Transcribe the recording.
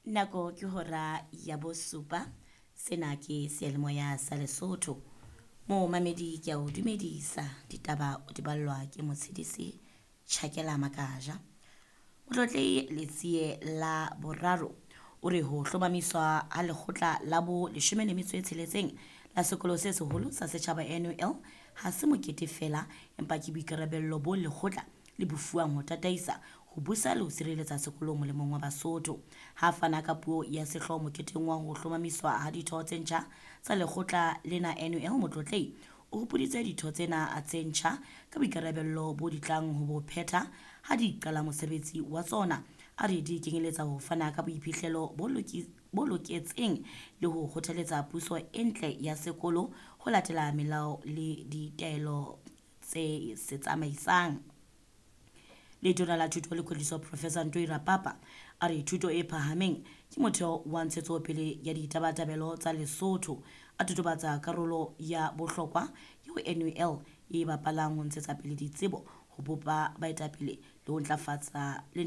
Nako ke hora ya bosupa. Sena ke seyalemoya sa Lesotho. Momamedi ke a o dumedisa. Ditaba o di ballwa ke motshedisi Tjhakela Makaja. Motlotlehi Letsie la Boraro o re ho hlomamiswa ha lekgotla la bo 16 la sekolo se seholo sa setjhaba NUL ha se mokete feela empa ke boikarabello bo lekgotla le bo fuwang ho tataisa, ho busa le ho sireletsa sekolo molemong wa Basotho. Ha fana ka puo ya sehlooho moketeng wa ho hlomamiswa ha ditho tse ntjha tsa lekgotla lena NUL, Motlotlehi o hopoditse ditho tsena tse ntjha ka boikarabello bo di tlang ho bo phetha ha di qala mosebetsi wa tsona. A re di kenyeletsa ho fana ka boiphihlelo bo loketseng le ho kgothaletsa puso e ntle ya sekolo ho latela melao le ditaelo tse se tsamaisang. Letona la Thuto le Kwetliso Professor Ntoi Rapapa a re thuto e phahameng ke motheo wa ntshetsopele ya ditabatabelo tsa Lesotho. A totobatsa karolo ya bohlokwa eo NUL e bapalang ho ntshetsa pele ditsebo, ho bopa baetapele le ho ntlafatsa le